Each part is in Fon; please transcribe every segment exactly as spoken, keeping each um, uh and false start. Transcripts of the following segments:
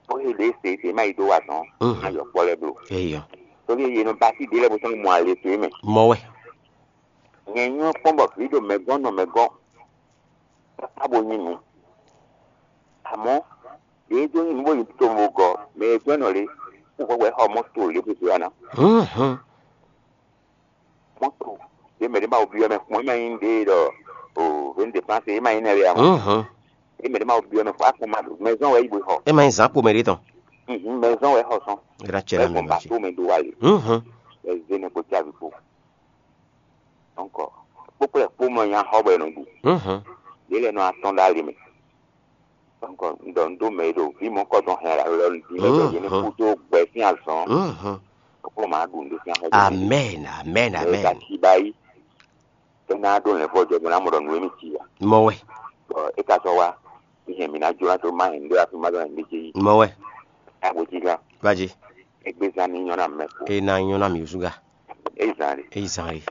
Bó e ɖě se se ma yi dó wa tɔn. Mhm. Ayɔ kpɔ lɛ blo. Eyɔ. Torí ye nɔ basi ɖe lɛ bó sɔn mɔ ale to mɛ. Mɔ wɛ. Nyɛ nyɔ kpɔn bɔ vi ɖo mɛ gɔn nɔ mɛ gɔn. Abo nyi nu. Àmọ́ ɖě dó nyi nu bó yi to mo gɔ mɛ e gbɛ́ nɔ lé. Kó hwɛ wɛ xɔ mɔto lé bó ana. Mhm. Mɔto. Ye mɛ ɖé ma wo biɔ mɛ kpɔn, e ma nyi ɖe ɖɔ o veni de panse, e ma nyi nɛ lé amɔ. Mhm. Ye mɛ ɖé ma wo biɔ mɛ kpɔn, akɔn ma ɖo mɛ zɔn wɛ yi bo xɔ. E ma nyi zan kpo mɛ ɖé tɔn. Mhm, mɛ zɔn wɛ xɔ sɔn. Era cɛ la mɛ lɔ ce. Bato mɛ do wa le. Mhm. Ɛ zé ne kpo javi kpo. Donc kpókplɛ kpó mɔ nya xɔ bɔ e nɔ ɖu. Mhm. Ɖé lɛ nɔ atɔn ɖ'ali mɛ. Donc un ɖɔ un ɖó mɛ e ɖo vǐ mɔ̌kɔdɔn hɛn la lɔ nǔ ɖi mɛ bɔ yě ní kú dó gbɛ sín azɔn. Mhm. Kpókplɛ ma ɖu nǔ ɖó sín axɔ. Amen, amen, amen. Ka ci ba yi. É ná ɖó lɛ̌nvɔ́ jɛ bɔ ná mɔ ɖɔ nǔ e mì ci a. Mɔ wɛ. Bɔ é ka sɔ́ wá. Ní hɛn mǐ ná jó ná tó má hɛn ɖó afi má zɔn hɛn mí jí. Mɔ wɛ. Agbójí gán. Vá jí. Égbé zán ní nyɔ́ ná mɛ kó. É ná nyɔ́ ná mì zúgá. É zán rè. É zán rè.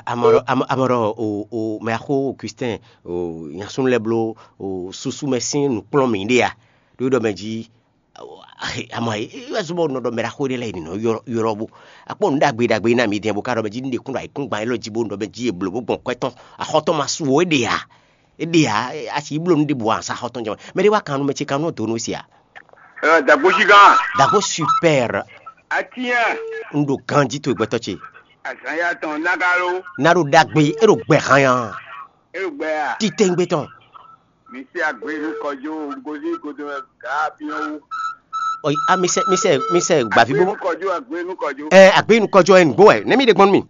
Amɔrɔ amɔrɔ o o mɛ axó o Christian o nyasúnú lɛ bló o susu mɛ sín nǔkplɔ́n mǐ ɖe a. Ɖó ɖɔ mɛ jí. Amɔ é wɛ zɔ́n bɔ nɔ ɖɔ mɛ ɖaxó ɖé lɛ́ɛ yi nɔ ylɔ́ bó akpɔ nǔ ɖagbe ɖagbe ná mi dɛn bó ká ɖɔ mɛ jí nú ɖe kún ɖo ayǐkúngban élɔ́ jí bó nɔ mɛ jí è blǒ bó gbɔn kwɛ́ tɔn axɔ́ tɔn ma su o é ɖe ǎ. É ɖe ǎ. A sǐ bló nú ɖěbǔ ǎ sa axɔ́ tɔn jɛ mɛ ɖé wá kan nú mɛ ce kan nú dǒ nú si ǎ. Dàgbósígán. Dàgbó super. Atínyà. Un ɖo ganjí towe gbɛtɔ́ ce. Azǎn ya tɔn nágalo. Ná ɖo ɖagbe é ɖo gbɛ hanya. É ɖo gbɛ a. Titɛngbé tɔn. Mi se agbe nu kɔjo gozi godo ga biɔn wu. Ɔyi a mi sɛ mi sɛ mi sɛ gbavi bo. Agbe nu kɔjo, agbe nu kɔjo. Ɛ agbe nu kɔjo ɛ nugbo ɛ ne mi ɖe gbɔn mi.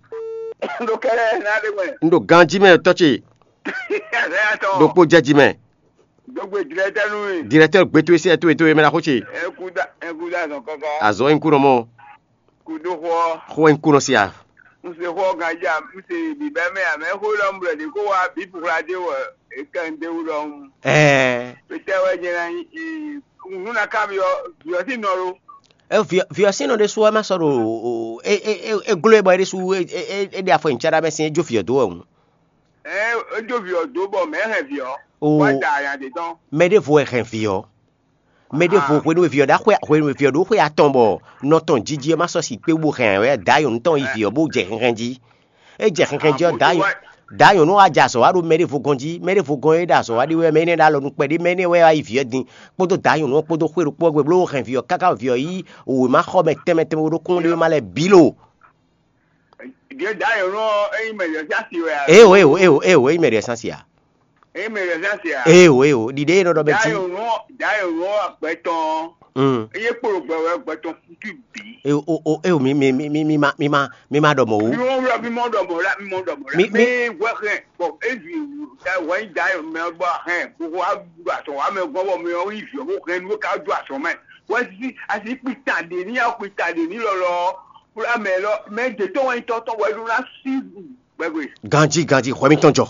Ɖo kɛlɛ na ɖe mɛ. N ɖo ganji mɛ tɔ ce. Azaya tɔ. Ɖokpo jɛ ji mɛ. Dogbe directeur nu. Directeur gbeto esi eto eto emɛ na xo ce. Ekuda ekuda zɔn kaka. Azɔ enku nɔ mɔ. Kudo xɔ. Xɔ enku nɔ sia. N se xɔ ganji a n se bibɛ mɛ a mɛ xo lɔ n blɛ de ko wa bi pukla de wɔ e kɛ n de wu lɔ n. Ɛɛ. Petɛ wɛ jɛ na yi nu na ka biɔ biɔ si nɔ lo. E viɔ viɔ si nɔ de su wɛ ma sɔ ɖo o e e e e glo e bɔ e de su e e e de afɔ nyi ca ɖa mɛ sin e jo viɔ do wɛ ŋu. Ɛɛ e jo viɔ do bɔ mɛ hɛn viɔ. O. Wa da aya de tɔn. Mɛ ɖevo wɛ hɛn viɔ. Mɛ ɖěvo hwenu e vǐ ɔ́ ɖo xwe hwenu e vǐ ɔ́ ɖo xwe atɔn bɔ nɔ tɔn jiji ɔ́ ma sɔ́ si kpé bó hɛn ɛ wɛ dǎ nyɔ̌nu tɔn yi vǐ ɔ́ bó jɛ hɛnhɛn jí. É jɛ hɛnhɛn jí ɔ́, dǎ nyɔ̌- dǎ nyɔ̌nu ɔ́ wá jɛ azɔ̌ wá ɖo mɛ ɖěvo gɔ́n jí. Mɛ ɖěvo gɔ́n e ɖo azɔ̌ wá ɖe wɛ mɛ énɛ́ ɖo alɔ nukpɛ ɖé mɛ énɛ́ wɛ wá yi vǐ ɔ́ din kpódó dǎ nyɔ̌nu ɔ́ kpódó xwé ɖokpó ɔ́ gbe bló hɛn vǐ ɔ́ káká vǐ ɔ́ yí wěma xɔ mɛ tɛnmɛ tɛnmɛ ɖokpó ɖé wɛ ma lɛ bǐ lo. Ɖě dǎ nyɔ̌nu ɔ́ é nyí mɛ ɖě sín asi wɛ a? Éwo éwo éwo éwo é nyí mɛ ɖě sín asi a? É nyí mɛ ɖě sín asi a? Éwo éwo ɖiɖe e nɔ ɖɔ mɛ dǎ jí. Nyɔ̌nu ɔ́ dǎ nyɔ̌nu ɔ́ agbɛ tɔn ɔ́ Mm. É nyí kpolo gbɛ wɛ gbɛ tɔn kútú bǐ. E o o e o mi mi mi mi mi ma mi ma mi ma ɖɔ mɔ o. Mi mɔ ɖɔ mi mɔ ɖɔ mɔ la mi mɔ ɖɔ mɔ la Mi- mi mi- wɛ hɛn bɔ ezu da wɛ nyi da mɛ bɔ hɛn gbogbo wa ɖo asɔ wa mɛ gbɔ bɔ mɛ ɔ yi viɔ bó hɛn nu ká ɖo asɔ mɛ wɛ si asi kpita ɖe ní ya kpita ɖe ní lɔlɔ fúlá mɛ lɔ mɛ dzetɔ wɛ nyi tɔtɔ wɛ ɖo na si gbɛgbɛ. Ganji ganji xɔ mi tɔn jɔ.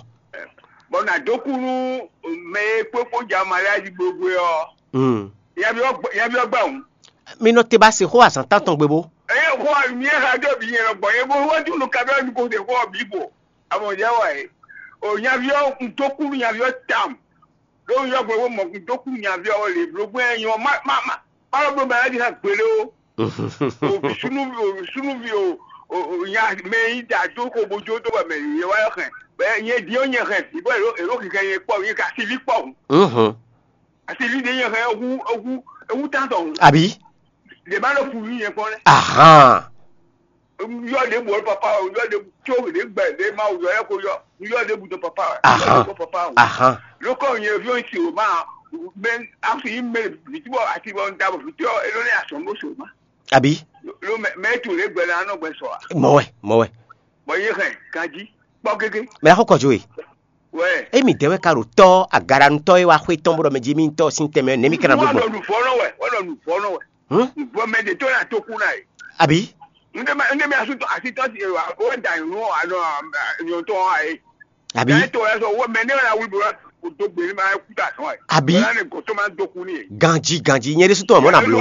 Bɔn na dó kú nú mɛ e kpókpó ja mariaji gbogbo ɔ. Mm. Yabi ɔ gbà òun. Mi nɔ te ba se xó azǎn tán tɔn gbe bó. Eye xó mi e xa dó bi nyɛ lɔ gbɔn ye bó wá dúró kabiɔ ní kó se xó ɔ bí bò. Amɔ jẹ wɔ ye. O nyaviɔ ŋdókú nyaviɔ tam. Ɖó yɔ gbogbo mɔ ŋdókú nyaviɔ le blógbó ɛ nyɔ ma ma ma. Kpalɔ bló mɛ ɛdi hã gbélé o. O sunuvi o sunuvi o o nya mɛ yi da dó ko bo jó dó bɔ mɛ yi wá yɔ xɛ. Bɛ nyɛ di o nyɛ xɛ. Ibɔ ero ero kikɛ nyɛ kpɔ nyɛ ka sivi kpɔ. Mhm. Asi li ɖe nyɛ hɛn ehu ehu ehu tantɔ ŋu. Abi. Ɖe ma ɖo fu yi nyɛ kpɔn lɛ. Ahan. Yɔ ɖe bu ɔlɔ papa o yɔ ɖe tso ɖe gbɛ ɖe ma o yɔ yɛ ko yɔ yɔ ɖe bu dɔ papa o. Ahan. Yɔ ɖe bɔ papa o. Ahan. Lókɔ nyɛ fi o si o ma mɛ afi yi mɛ viti bɔ ati bɔ n da bɔ viti ɔ elo ne asɔn bó so ma. Abi. Lo mɛ mɛ tu ɖe gbɛ na nɔ gbɛ sɔ a. Mɔ wɛ mɔ wɛ. Bɔ ye hɛn ganji kpɔ gege. Mɛ la xɔ kɔjú e. Wɛ. Emi dɛwɛ ka ɖo tɔ agaɖanutɔ e wa xwe tɔn bɔ mɛ jí mi tɔ sin tɛmɛ ne mi kana Wọ́n gbogbo. Lọ nù fọ́ náà wẹ̀, wọ́n lọ nù fọ́ náà wẹ̀. Hmm? Nùfọ́ mɛ de tó yà tó kú náà yìí. Àbí? Ndé mɛ ndé mɛ asúntò àti tọ́sí ẹ̀ wà ó da ìrún àná ìyọ̀ntọ́ ayé. Àbí? Ẹ̀ tó ẹ̀ sọ wọ́n mɛ ní ọ̀la wíwú la kò tó gbé ní ma kú tà sán ẹ̀. Àbí? Ọ̀la ni gòtó máa ń dókú ní yẹn. Ganji ganji nyɛ de sutɔ mɔ na blo.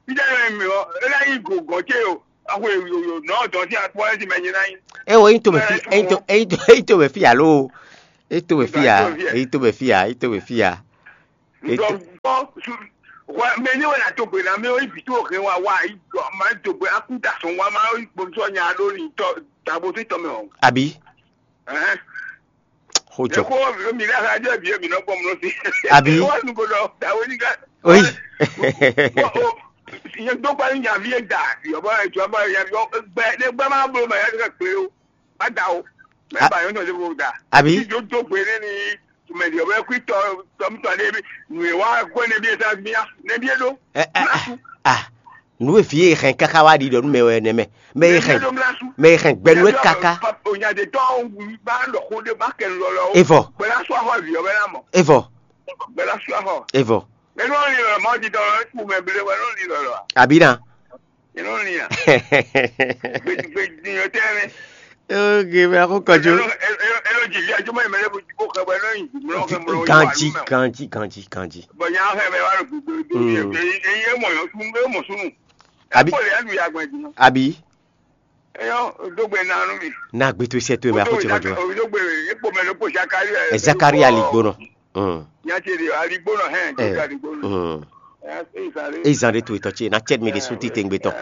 Ìjà yẹn mi ɔ ẹ̀ láyé gògò tse o. Awo yoyo nɔ dɔn sí akpɔ ɛ ti mɛ nyina yi. Ewo eyin to bɛ fi eyin to eyin to eyin to bɛ fi alo. Eyin to bɛ fi ya eyin to bɛ fi ya eyin to bɛ fi ya. Ŋutɔ ŋutɔ su hwɛ mɛ ní wɛ na do gbe na mɛ yi vǐ tó hɛn wa wa yi ma do gbe akú da sɔn wa ma yi gbɔnsɔ nya ɖo ni tɔ dabo tó tɔ mɛ o. Àbí? Ɛhɛn. Xó jɔ. Eko mi la ha jɛ bi mi nɔ gbɔ mlɔ si. Àbí? Wa nu ko dɔ dawo ni ka. Oyi. Nye do gba ni nya vi e da yɔ bɔ ejɔ bɔ ya yɔ gbɛ ne gbɛ ma bolo ma ya ka kple o. Má da o. Mɛ ba yɔn tɔn se ko da. Àbí? Tí yóò dó gbe ní ní mɛ di ọbẹ kú tọ tọmítọ ní ebi nù e wá gbọ́ ní ebi esa gbìyà ní ebi eɖo. Ɛ ɛ ɛ ah, nǔ e vǐ e hɛn káká wá ɖi ɖɔ nú mɛ wɛ nɛmɛ. Mɛ e hɛn mɛ e hɛn gbɛnu e káká. Onyadetɔ bá lɔ xó ɖé bá kɛ lɔlɔ o. Evɔ. Gbɛlá sɔ axɔ vǐ ɔbɛ ná mɔ. Evɔ. Gbɛlá sɔ axɔ. Evɔ. Mɛ ló ń lin lɔlɔ mɔ ti dɔn lɔ kú mɛ blé wɛ ló ń lin lɔlɔ a. Àbí na. Ino lia. Gbedigbedigbe yɔ tɛ mɛ. Oge mɛ akó kɔjú. Elo elo elo dzi via juma yi mɛ lɛ bo dzi ko xɛ bɔ elo yi dzi mlɔ xɛ mlɔ. Ganji ganji ganji ganji. Bɔn nya xɛ bɛ wa lo gbogbo gbogbo yɛ eyi emɔ yɔ sun emɔ sunu. Abi. K'o le anu ya gbɛ dzi. Abi. Eyɔ dogbe nanu mi. Na gbe to sɛ to mɛ akó tsi ma jɔ. Dogbe ekpo mɛ lɛ kpo Zakari. Ɛ Zakari ali gbonɔ. Nya ce ɖe aligbónɔ hɛn jɔjɔ aligbónɔ. Ezan ɖé to etɔ́ ce ná cɛ́ mi ɖésú titewungbe tɔn.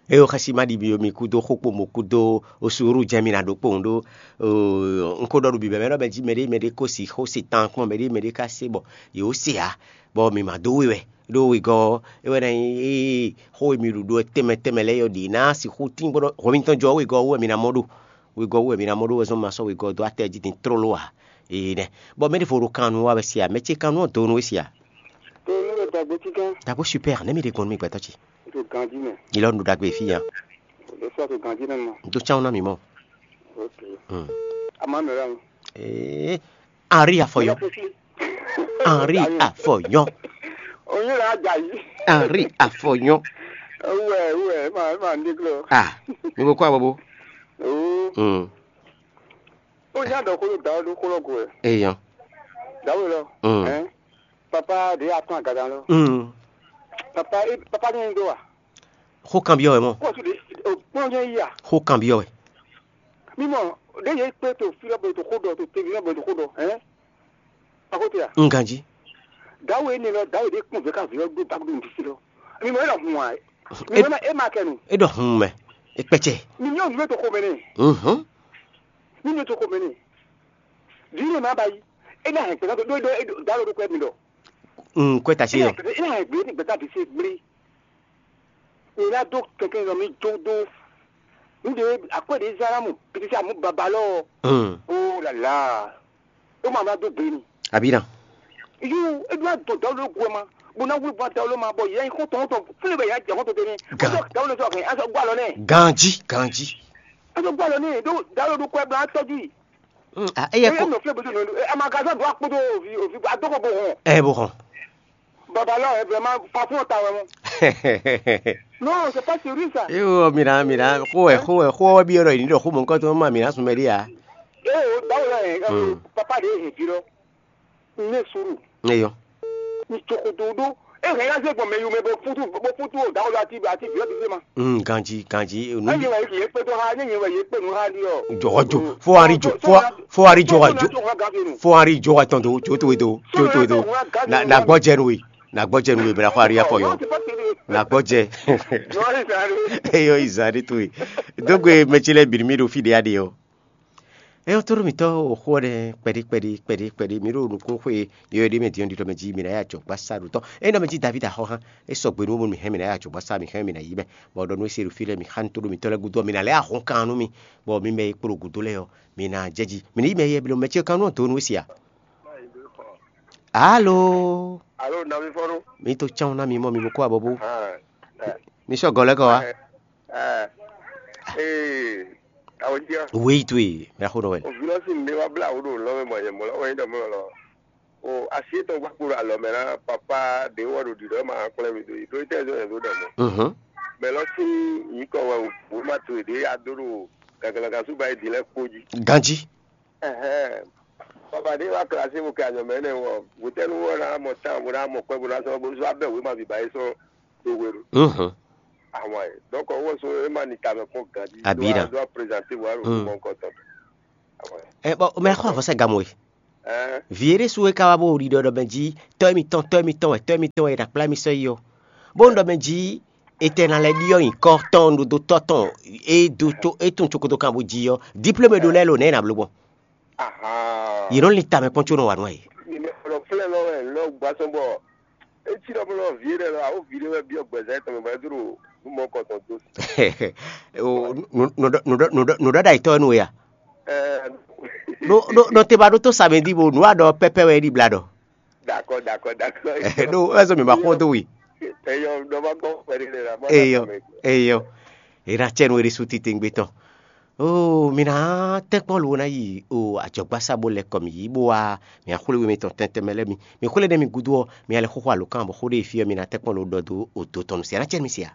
Eye xɛsi ma ɖi mi kúdó xókpomɔ kúdó osuúru jɛ́n mi ná ɖó kpowun ɖó. Un ko ɖɔ ɖo bǐbɛ́ mɛ ɖɔ mɛ jí mɛɖé mɛɖé ko si xó se tan kpɔ́n mɛɖé mɛɖé ka se bɔ yě wó se ǎ, bɔ mǐ ma dó we wɛ. Ɖó wegɔ́ ɔ́, é wɛ ná nyí xó e mi ɖu ɖó tɛnmɛ tɛnmɛ lɛ́ɛ ɔ́ ɖě ná sixú tín bó ɖɔ hwɛ mitɔn jɔ wegɔ́ ɔ́ wú wɛ mi ná mɔ ɖo. Wegɔ́ wú wɛ mi ná mɔ ɖó wɛ zɔ́n ma sɔ́ wegɔ́ dó atɛ jí din tlóló ǎ. Ee nɛ. Bɔ mɛ ɖěvo ɖo kan nu wa wɛ sia, mɛ ce kan nu ɔ́ do nú we sia. To nú we dagbe tíkan. Dagbe super, ne mi ɖe gbɔn nú mi gbɛtɔ ce. To ganji mɛ. Ilɔ nu dagbe fi ya. Le sɔ to ganji nɛ ma. Do tsan na mi mɔ. Ok. Hmm. Ama mɛ ra. Ee, Henri Afɔyɔ. Henri Afɔyɔ. Onye la dza yi. Henri Afɔyɔ. Wɛ wɛ ma ma ndi klo. Ah, mi bo kɔ abobo. Oo. Hmm. Ó nya ɖɔ xó ɖo dǎwe ɖó xó lɔ go wɛ. Eyɔn. Dǎwe lɔ. Mm. Ɛn. Papa ɖě atún agadan lɔ. Mm. Papa é papa ní do wa. Xó kanbyɔ́ wɛ mɔ. Kó o tún ɖe o kpɔn nyɛ yí a. Xó kanbyɔ́ wɛ. Mi mɔ ɖě yě kpé to fí lɔ bɔ to xó ɖɔ to tevi lɔ bɔ to xó ɖɔ ɛn. Akóte a. N ganjí. Dǎwe énɛ́ lɔ dǎwe ɖě kún vɛ̌ ká vǐ ɔ́ dó dǎwe ɖo nǔɖusi lɔ. Mi mɔ é lɔ hun ǎ. Mi mɔ é ma kɛ nu. É ɖɔ hun mɛ. É kpɛ́cɛ. Mi nyɔ́ nǔ to xomɛ nɛ. Mhm. Mi nyɔ́ to xomɛ nɛ. Vǐ ne ma ba yi. É ná hɛn gbɛtá ɖó ɖó dǎwe ɖó kɔ́ mi ɖɔ. Un kɔ́ ta sí yɔ. É ná hɛn gbé ní gbɛtá ɖě se gblé. È ná dó kɛkɛ nɔ mi dó dó. Nǔɖé akwɛ́ ɖě zán ná mɔ pitisi amú baba lɔ. Hmm. Ó lala. Ó ma ná dó gbe ni. Àbí na. Yú é ɖó adó dawlo ló gu ɛ ma. Bó ná wúlò bó dawlo ma bɔ yɛ xɔtɔn xɔtɔn fúnlẹ̀ bɛ yà jẹ xɔtɔn tɛnɛ. Ga. Azɔ dawlo sɔ kɛ azɔ gbọ́ àlọ́ nɛ. Ganji ganji. Azɔ gbọ́ àlọ́ nɛ ɖó dawlo ɖó kɔɛ bla tɔjú yìí. Hmm, ah, eye Eye ko nɔ fúnlẹ̀ bó tó nɔ ɛ amagazɔn dó akpótó òvi òvi adókò bó hàn. Ɛ bó hàn. Baba lɔ ɛ vraiment patron ta wɛ mɔ. Non, c'est pas sérieux ça. Yo, mina mina, xó ɛ xó ɛ xó ɛ bi yɔrɔ yìí ní ɖɔ xó mɔ nukɔn tó ma mina sùn mɛ ɖé ya. Ee o dawlo lɔ ɛ papa de he fi lɔ. Ne suru. Eyɔ. Ni tsokoto ɖó. E hɛn ya zé gbɔn mɛ yomɛ bɔ futu bɔ futu o dawlo ati ati bi ɔti se ma. Mm, ganji ganji nu. Enyi wɛ ye kpe to ha ne nyi wɛ ye kpe nu ha ɖi ɔ. Jɔgɔjo fo ari jo fo fo ari jɔgɔjo. Fo ari jɔgɔ tɔn do jo to do jo to do. Na na gbɔjɛ nu ye. Na gbɔjɛ nu ye bɛ na xɔ ari afɔ yɔ. Na gbɔjɛ. Eyɔ izan ɖe to ye. Dogbe mɛ ce lɛ biri mi ɖo fi ɖe ya ɖe yɔ. Eyɔ to ɖo mitɔ o xɔ ɖe kpɛɖi kpɛɖi kpɛɖi kpɛɖi mi ɖo nukun xwe yɔ ɖe mɛ diɔ ɖitɔ mɛ ji mi na ya jɔ gbasa ɖo tɔ. Eyɔ mɛ ji David axɔ hã. E sɔgbe nu mi hɛn mi na ya jɔ gbasa mi hɛn mi na yi mɛ. Bɔ ɖɔ nu e se ɖo fi lɛ mi xan to ɖo mitɔ lɛ gudo mi na lɛ ahɔn kan nu mi. Bɔ mi mɛ e kpo ɖo gudo lɛ yɔ mi na jɛ ji mi na yi mɛ yɛ blo mɛ ce kan nu do nu e sia. Alo. Alo, nɔvi fɔnu. Mi to tsan na mi mɔ mi bo kó abɔbɔ. Ah, eh, Mi sɔ gɔlɛ kɔ wa. Eh, eh, awo jia. Wei to ye, mɛ xo nɔ wɛ. O vilɔsi mi wa bla wo do lɔ me mɔ ye mɔ lɔ, o yin dɔ mɔ lɔ. O asi etɔn gba kpo alɔ mɛ na papa de wɔ do di dɔ ma kplɛ mi do yi. Do tɛ zo do dɔ mɔ. Mhm. Mɛ lɔ si yi kɔ wɛ o ma to de ya do do gagalaga su ba yi di lɛ kpo ji. Ganji. Ɛhɛn. Baba ɖé wá klasi mo kɛ anyɔ mɛ nɛ wɔ wotɛnu wɔ na mɔ tan bo na mɔ kpɛ bo na sɔ bo sɔ abɛ wema bi ba yi sɔ do we do. Mhm. Àwọn ɛ donc owó so ema ni tamɛ kpɔn gadi. Abi na. Do a présenter wa lo mɔ nǹkan tɔ. Àwọn ɛ. Ɛ bɔn mɛ xɔ afɔsa gamu ye. Vǐ é ɖésú é ka wá bó ɖiɖɔ ɖɔ mɛ jí tɔ́ émítɔn tɔ́ émítɔn wɛ tɔ́ émítɔn wɛ è nǎ kplá mì sɔ́ yi ɔ́, bónú ɖɔ mɛ jí è tɛ ná lɛ́ ɖyɔ́ nyǐkɔ tɔn ɖo dó tɔ́ tɔn é dó có é tunwun cokoto kan bó jí ɔ́, díplómé ɖó lɛ́ɛ lo nɛ̌ è nǎ bló gbɔn? Yě nɔ lin tamɛ kpɔ́n có nɔ wa nǔ a yě. Mɛ lɔ flɛ́ lɔ wɛ lɔ gba sɔn bɔ é cí ɖɔ blɔ vǐ ɖé lɔ awo vǐ ɖé wɛ byɔ́ gbɛzɛ́ tɔn mɛ bɔ é dó ɖo nǔ mɔ kɔtɔn dó. Nǔɖɔɖa yětɔn wɛ nú we a? Nɔ te ba ɖótó sa mɛ dí bo nǔ a ɖɔ pɛpɛ wɛ é ɖi bla ɖɔ. Dakɔ dakɔ dakɔ. Ɖó ɛzɔ mi ma xɔ dó we. Eyɔ ɖɔ ma gbɔ pɛɖe lɛ la ma. Eyɔ. Eyɔ. È nǎ cɛ nú é ɖésú titewungbe tɔn. Oo, mi ná tɛ́nkpɔ́n lo ná yi o ajɔ̌gbásá bó lɛ́ kɔ mǐ yi bó wá mǐ axwlé we mitɔn tɛntɛn mɛ lɛ́ɛ mi. Mi xwlé ɖé mi gúdo ɔ́, mi alɛ xóxó alǒkan bɔ xó ɖé e fí ɔ́ mi ná tɛ́nkpɔ́n lo ɖɔ dó odo tɔn nu se. A ná cɛ mi se a?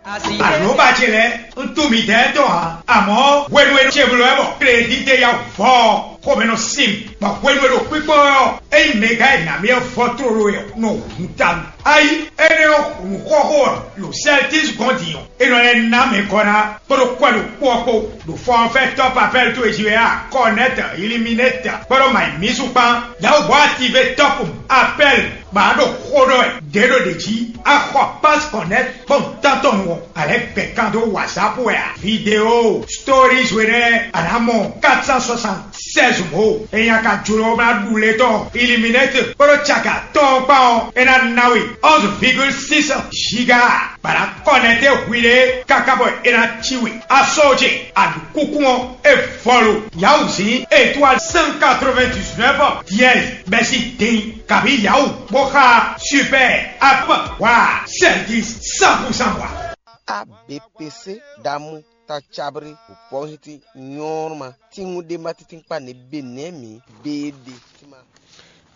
Àlóbá ce lɛ́ɛ, un tunwun midɛɛ tɔn ǎ, amɔ̌ hwenu e ce bló wɛ bɔ klédídé ya vɔ ɔ́, xomɛ nɔ sin mì, bɔ hwenu e ɖo kpíkpɔ́ wɛ ɔ́, ényí mɛgán e nǎ mì ɔ́ vɔ tlóló wɛ ɔ́, nɔ hun ta mì. Ayi, énɛ́ ɔ́, nǔxɔxó ɔ́, ɖo Sɛltis gɔ́n din ɔ́, é nɔ lɛ́ ná mɛ gɔ́ ná kpódó kwɛ́ ɖokpó ɔ́ kpó, ɖo fɔnfɛ́ tɔ́ papɛ́l towe jí wɛ a, Kɔnɛ́t, Iliminɛ́t, kpódó Mayimísu kpán, Yawugbɔ́ ative tɔ́pun, Apɛ́l, bɔ a ɖo xó ɖɔ wɛ ɖě ɖo ɖě jí, a xɔ Pás Kɔnɛ́t kpɔ́n tántɔn nu ɔ́, a lɛ́ gbɛ̌ kan dó WhatsApp wɛ a? Video, stories we nɛ́ a nǎ mɔ quatre cent soixante-seize mǒ. Ényí a ka jló ná ɖu lě tɔn Iliminɛ́t kpódó caka tɔn ɔ́ kpán ɔ́, é ná ná we onze virgule six giga, bɔ a nǎ kɔnɛ́té hwiɖée káká bɔ é ná cí we. A sɔ́ ce, a ɖu kúkú ɔ́, é vɔlu. Yawuzǐn étoile cent quatre-vingt-dix-neuf dièse bɛ́ sín din, kabǐ Yawu bó xá super app wa service cent pour cent wa. A B P C ɖamu ta cabri wǒpɔ́nhíntí nyɔ́rma tínŋú ɖé má tíntín kpá nɛ̌ be nɛ̌ mǐ béé ɖe.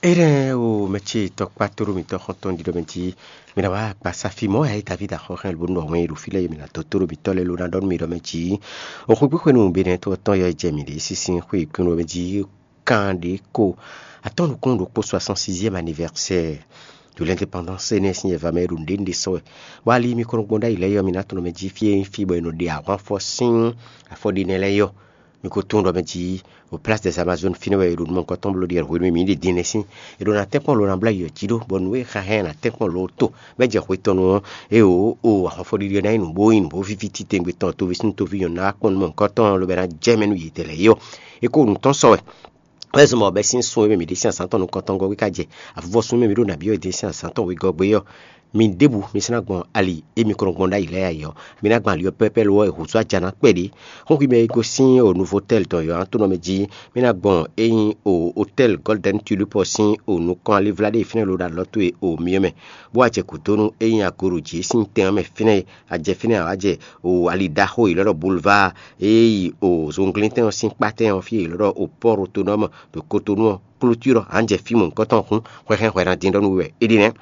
Énɛ́ o mɛ ce tɔkpá tóɖó mitɔ́ xɔ́ntɔn ɖiɖɔ mɛ jí mi ná wá gbasa fí mɔ̌ yǎ e Davídi axɔ́ hɛn bó nɔ wɛn e ɖo fí lɛ́ɛ e mi ná dó tóɖó mitɔ́ lɛ́ɛ ló ná ɖɔ nú mi ɖɔ mɛ jí o xwé gbíxwenu be nɛ́ tó tɔn yɔ jɛ mǐ ɖě sísí xwé kúnnu mɛ jí kan ɖě ko atɔ́ nukúnnú ɖokpó soixante-sixième anniversaire de l'indépendance énɛ́ sín yɛva mɛ e ɖo nǔɖé nǔɖé sɔ́ wɛ. Bɔ ali mi kɔn nɔ gbɔn ɖ'ayǐ lɛ́ɛ yɔ mi ná tunɔ mɛ jí fí e nyí fí bɔ è nɔ ɖe ahwan fɔ sín afɔɖinɛ lɛ́ɛ yɔ. Mi ko tunwun ɖɔ mɛ jí o Place des Amazones fínɛ́ wɛ è ɖo nǔ mɔ̌hunkɔtɔn bló ɖi wɛ hwenu e mǐ ɖi din nɛ́ sín. È ɖo ná tɛ́nkpɔ́n lo ná blá yi jí ɖó, bɔ nǔ e xa hɛn ná tɛ́nkpɔ́n lo to bɔ é jɛ hwe tɔn nu ɔ́, é o o ahwanfɔɖiɖi ɔ́ ná nyí nǔ bó nyí nǔ bó víví titewungbe tɔn toví-súnnu-toví nyɔ̌nu ná wá kpɔ́n nǔ mɔ̌hunkɔtɔn lobɔ é ná jɛ mɛ nú yědɛɛ lɛ́ɛ é ɔ́, é ko nǔ tɔn sɔ wɛ. Wɛ zɔn bɔ bɛ́ sín sun e mɛ mǐ ɖe sín azǎn tɔn nukɔntɔn gɔ́ wí ká jɛ avuvɔsun e mɛ mǐ ɖo nǎ byɔ́ yě ɖe sín azǎn tɔn wegɔ́ gbé ɔ́, mi ɖěbǔ mi sɔ́ ná gbɔn ali e mi kɔn nɔ gbɔn ɖ'ayǐ lɛ́ɛ ayǐ ɔ́, mi ná gbɔn ali ɔ́ pɛ́pɛ́ lo ɔ́, è hǔzú ajǎ ná kpɛɖé. Xóxwi mɛ e gosín o Novotel tɔn yɔ̌yɔ́ntɔ́nɔ mɛ jí, mi ná gbɔn e nyí o Hotel Golden Tulip ɔ́ sín o nukɔn alivlá ɖé e fínɛ́ lo ɖo alɔ towe o myɔ mɛ, bó wá jɛ gǔdo nú e nyí agoɖo jǐ e sín tɛn ɔ́ mɛ fínɛ́ e a jɛ fínɛ́ ǎ wá jɛ o ali ɖaxó e è lɔ́ ɖɔ Boulevard e yi o zunglíntɛn ɔ́ sín kpátɛn ɔ́ fí e è lɔ́ ɖɔ o Pɔ́ɔ Otonɔ́mu ɖo Kotonu ɔ́, klútúr ɔ́, a nǎ jɛ fí mɔ̌hunkɔtɔn hǔn hwɛhɛn hwɛ ná dín ɖɔ nú we wɛ é ɖi nɛ́.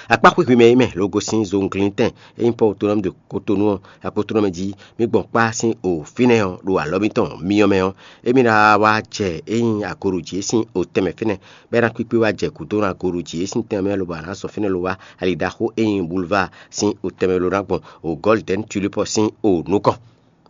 Akpá xwixwi mɛ é mɛ ló gosín zunglíntɛn e nyí Pɔ́ɔ Otonɔ́mu ɖo Kotonu ɔ́, Aklúnɔ jí mì gbɔn kpá sín o fínɛ́ ɔ́ ɖo alɔ mitɔn myɔ mɛ ɔ́, émí ná wá jɛ é nyí agoɖují e sín o tɛnmɛ fínɛ́, bɔ é ná kpíkpé wá jɛ gǔdo ná agoɖují e sín tɛnmɛ mɛ lobɔ a nǎ zɔn fínɛ́ lo wá ali ɖaxó e nyí Boulevard sín o tɛnmɛ lo ná gbɔn o Golden Tulip ɔ́ sín o nukɔn.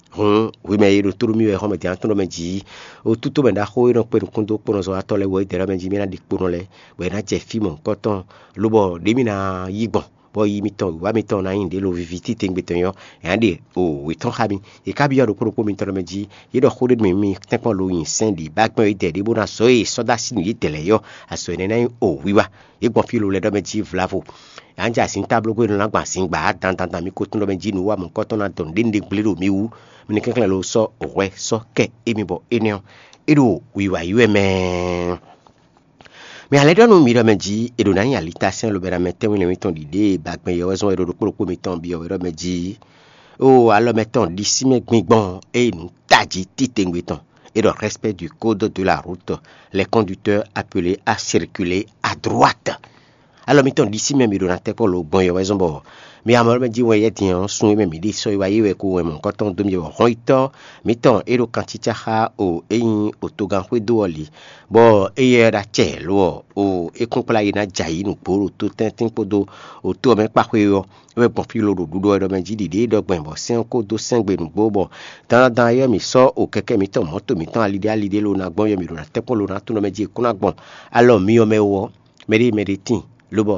Hǔn hwi mɛ e ɖo tóɖó mì wɛ xɔ́mɛ din atɔ́ mɛ jí, o tútú mɛ ɖaxó e nɔ kpé nukúndókpónɔzɔ́watɔ́ lɛ́ɛ wú ɔ́, é dɛ ɖɔ mɛ jí mì ná ɖi kpo nɔ lɛ́ɛ, bɔ è nǎ jɛ fí mɔ̌hunkɔtɔn, lobɔ ɖě mì ná yí gbɔn, bɔ yi mitɔn wǐwá mitɔn ná nyí ɖě lo viví titewungbe tɔn nyɔ́, è nǎ ɖe o wě tɔn xá mi. È ká byɔ́ ɖokpó ɖokpó mitɔn ɖɔ mɛ jí, yě ɖɔ xó ɖé nú mì mì tɛ́nkpɔ́n lo nyi sɛ́n ɖě ba gbɛ́n yědɛɛ ɖé bó ná zɔ̌ e è sɔ́ dó así nú yědɛɛ lɛ́ɛ ɔ́, azɔ̌ énɛ́ ná nyí o wiwa. Yě gbɔn fí lo lɛ́ɛ ɖɔ mɛ jí vlavo. Anjɛ azǐntáblógbé nɔ ná gbɔn azǐn gbǎ dandan mì ko tunwun ɖɔ mɛ jí nǔ wa mɔ̌hunkɔtɔn ná dɔn nǔɖé nǔɖé gblé ɖo mi wú. Mi ní kɛnklɛ́n lo sɔ́ hwɛ sɔ́ kɛ émí bɔ énɛ́ ɔ́, é ɖo wiwa yí wɛ mɛ. Mɛ alɛ́ ɖɔ nú mi ɖɔ mɛ jí è ɖo ná nyi alitasɛ́n lobɛ́ ná mɛ tɛ́nwín lɛ́nwín tɔn ɖiɖée e ba gbɛn yɛ wɛ zɔ́n wɛ ɖo ɖokpó ɖokpó mitɔn byɔ́ wɛ ɖɔ mɛ jí. Oo, alɔ mɛ tɔn ɖisí mɛ gbingbɔn e nǔ tají titewungbe tɔn. É ɖɔ respect du code de la route, les conducteurs appelés à circuler à droite. Alɔ mitɔn ɖisí mɛ mi ɖo ná tɛ́ kpɔ́ lo gbɔn yɔ wɛ zɔ́n bɔ mi amɔ mɛ jí wɛn yɛ din ɔ́, sun e mɛ mǐ ɖe sɔ́ yi wá yi wɛ ko wɛn mɔ̌hunkɔtɔn dó mi wɔ hɔn yitɔ́ mǐtɔn e ɖo kan cícá xá o é nyí otogan xwédo ɔ́ li, bɔ éyɛ́ ɖo acɛ lo ɔ́, o é kún kplá yi ná jɛ ayǐ nǔgbó ɖo tó tɛ́ntin kpódó o tó ɔ́ mɛ kpáxwé ɔ́, é wɛ gbɔn fí lo ɖo ɖuɖɔ wɛ ɖɔ mɛ jí ɖiɖě ɖɔ gbɛn bɔ sɛ́n ɔ́ kó dó sɛ́n gbe nǔgbó bɔ dandan ɔ́ mǐ sɔ́ o kɛkɛ́ mǐtɔn mɔ̌to mǐtɔn aliɖé aliɖé lo ná gbɔn yɔ mǐ ɖo ná tɛ́ kpɔ́n lo ná tunɔ mɛ jí è kún ná gbɔn alɔ myɔ mɛ wú ɔ́, mɛɖé mɛɖé tíin, lobɔ